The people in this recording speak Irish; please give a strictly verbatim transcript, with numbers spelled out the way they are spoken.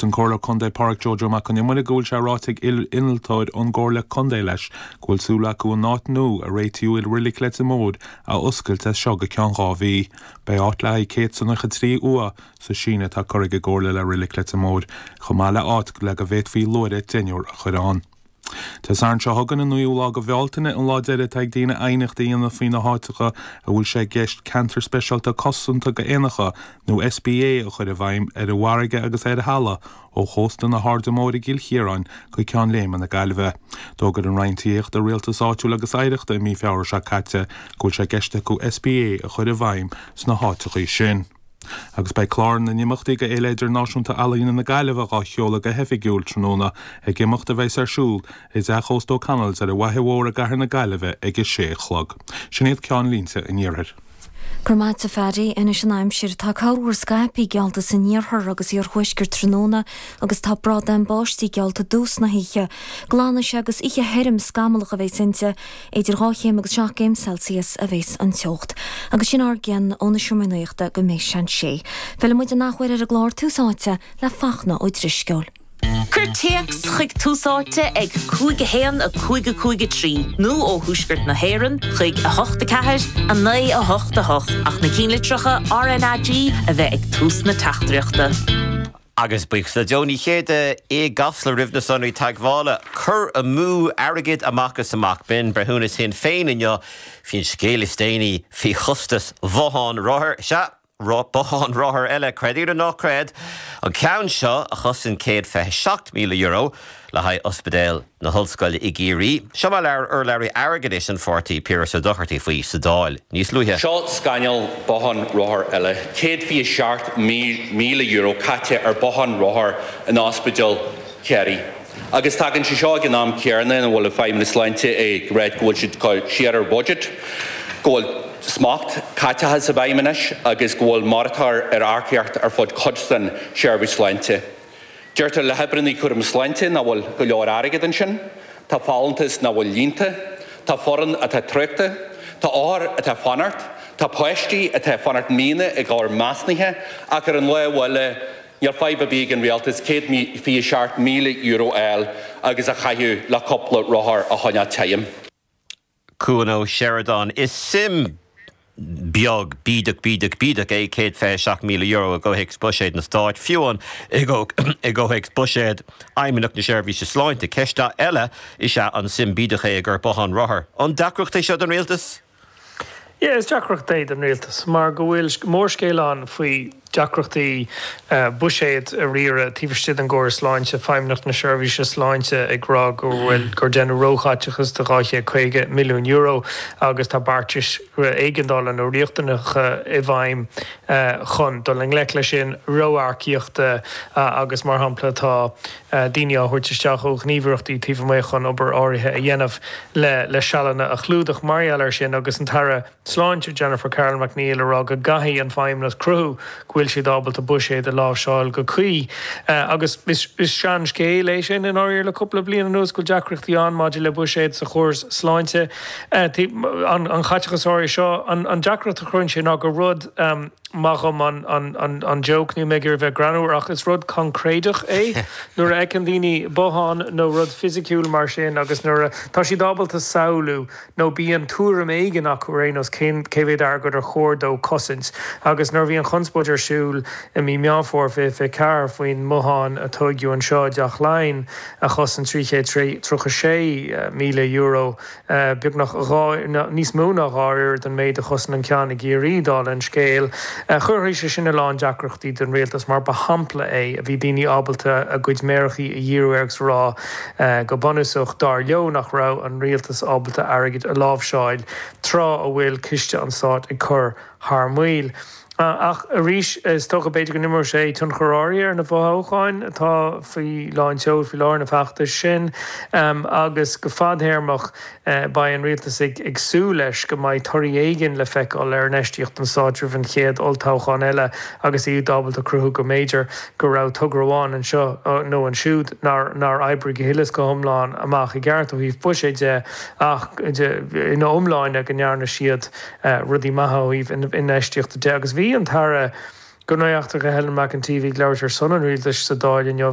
An Comhairleoir Contae Pádraic Joe Joe Mac Con Iomaire go bhfuil sé ráite ag innealtóir ón gComhairle Contae leis go bhfuil súil acu an áit nua a réitíodh i Reilig Leitir Móir a oscailt as seo go ceann dhá mhí. Beidh áit le haghaidh céad is nócha trí uaigh sa síneadh atá curtha ag an gComhairle le Reilig Leitir Móir, chomh maith le áit le go bhféadfaí luaithre deichniúr a chur ann. Dé Sathairn seo chugainn an naoú lá de Bhealtaine an lá deiridh atá ag daoine aighneacht a dhéanamh faoi na háiteacha a bhfuil sé i gceist ceantar speisialta cosanta d'éanacha nó SPA a chur i bhfeidhm ar an bhfarraige agus ar thalamh ó chósta na hAirde Móire i gCill Chiaráin go Ceann Léime na Gaillimhe. D'fhógair an Roinn Tithíochta Rialtais Áitiúil agus Oidhreachta i mí Feabhra seo caite go bhfuil sé i gceist acu SPA a chur i bhfeidhm sna háiteacha sin. Agus beidh clár na n-imeachtaí do Fhéile Idirnáisiúnta Ealaíona na Gaillimhe á sheoladh go hoifigiúil tráthnóna ag imeacht a bheas ar siúl i dTeach Ósta O'Connell's ar an bhFaiche Mhór i gCathair na Gaillimhe ag a sé a chlog. Sin iad ceannlínte an iarthair. Go raibh maith agat a Phaddy anois an aimsir tá corrmhúr scaipthe geallta san iarthar agus iarthuaisceart tráthnóna agus tá brádán báistí geallta i dtús na hoíche. Glanfaidh sé agus oíche thirim scamallach a bheas inti, idir dhá chéim agus seacht gcéim Celsius a bheas an teocht. Agus sin ár gcionn ó na Seomraí Nuachta go mbeidh sé an sé. Fillfidh muid an athuair ar an gclár Tús Áite le Fachtna Ó Drisceoil. Cuir téacs chuig Tús Áite ag cúig a haon a cúig a cúig a trí nó ó thuaisceart na hÉireann chuig a hocht a ceathair a naoi a hocht a hocht ach na ceannlitreacha RnaG a bheith ag tús na teachtaireachta. Agus buíochas le Joe Ní Chéide i gCasla roimh na sonraí teagmhála cur amú airgid amach is amach b'in breithiúnas Shinn Féin inniu faoin scéal is déanaí faoi chostas bhothán rothar sea bothán rothar eile creid nó ná creid an ceann seo a chosain céad fiche seacht míle euro le haghaidh ospidéal na hollscoile i gCiarraí. Seo mar labhair urlabhraí airgeadais an pháirtí Piaras Ó Dochartaigh faoi sa Dáil níos luaithe. Seo scannal bothán rothar eile, céad fiche seacht míle euro caite ar bothán rothar in ospidéal Chiarraí. Agus tagann sé seo ag an am céanna ina bhfuil an Feidhmeannas Sláinte ag rá go bhfuil siad cur siar ar budget, go bhfuil smacht caiteachais i bhfeidhm anois agus go bhfuil moratóir ar earcaíocht ar fud cuid den seirbhís sláinte. Deirtear le hoibrithe cúraim sláinte nach bhfuil go leor airgead ansin, Tá folúntais nach bhfuil líonta, Tá foireann atá traochta, Tá othair atá fanacht, Tá páistí atá fanacht míonna i gcomhair measúnaithe ach ar an lámh eile níl fadhb ar bith ag an rialtas céad fiche seacht míle euro a fháil agus a chaitheamh le cúpla rothar a choinneáil tirim. Cuan Ó Seireadáin is suim beag bídeach bídeach bídeach é céad fiche seacht míle euro i gcomhthéacs buiséad na stáit fiú i gcomhthéacs buiséad Fheidhmeannacht na Seirbhíse Sláinte ceist eile is ea an suim bídeach é gur bothán rothar. An deacracht é seo don rialtas? Yeah, is deacracht é don rialtas mar go bhfuil mórscéal ann faoi deacrachtaí buiséid a riaradh taobh istigh den gcóras sláinte, Feidhmeannacht na Seirbhíse Sláinte ag rá go bhfuil gur déanadh róchaiteachas de dhá chéad caoga milliún euro agus tá beartais éigeandála nó riachtanacha i bhfeidhm chun dul i ngleic leis sin ró-earcaíochta agus mar shampla tá daoine á thabhairt isteach ó ghníomhaireachtaí taobh amuigh chun obair áirithe a dhéanamh le le sealanna a chlúdach mar gheall air sin agus an tAire Sláinte Jennifer Carroll MacNeill a rá go gcaithfidh an Feidhmeannas cruthú go bhfuil siad ábalta buiséad a láimhseáil go cuí. Agus is seanscéal é sin i ndáiríre le cúpla bliain anuas go bhfuil deacrachtaí ann maidir le buiséad sa chóras sláinte. An chaiteachas áirithe seo, an deacracht a chruthaíonn sé ná gur rud maith dhom an an joke níl mé ag iarraidh bheith greannmhar ach is rud coincréideach é nuair a fheiceann daoine bothán nó rud fisiciúil mar sin agus nuair a tá siad ábalta samhlú nó bíonn tuairim éigin acu ar aon nós cén cé mhéad airgead ar chóir dó cosaint agus nuair a bhí an chonspóid ar siúl i mí Meán Fómhair fiche fiche ceathair faoin mbothán a tógadh anseo i dTeach Laighean a chosain trí chéad tríocha sé míle euro beagnach dhá níos mó ná dhá oiread an méid a chosain an ceann i gCiarraí dála an scéil. Chruthaigh sé sin a lán deacrachtaí don rialtas mar ba shampla é a bhí daoine ábalta a gcuid méarachaí a dhíriú air agus a rá go bunúsach dar leo nach raibh an rialtas ábalta airgead a láimhseáil tráth a bhfuil ciste an stáit ag cur thar maoil. Ach arís, is dócha b'fhéidir go n-imreoidh sé tionchar áirithe ar na fothoghcháin atá faoi lán tseoil faoi láthair na feachtais sin agus go fadtéarmach beidh an rialtas ag súil leis go mbeidh torthaí éigin le feiceáil ar infheistíocht an stáit roimh an chéad olltoghchán eile agus iad ábalta cruthú go mb'fhéidir go raibh togra amháin anseo nó ansiúd nár nár oibrigh go huile is go hiomlán amach i gceart ó thaobh buiséid de ach ina iomláine go ndearna siad rudaí maithe ó thaobh infheistíochta de agus bhí an tAire Go raibh Helen McEntee ag labhairt ar son an rialtais sa Dáil inniu.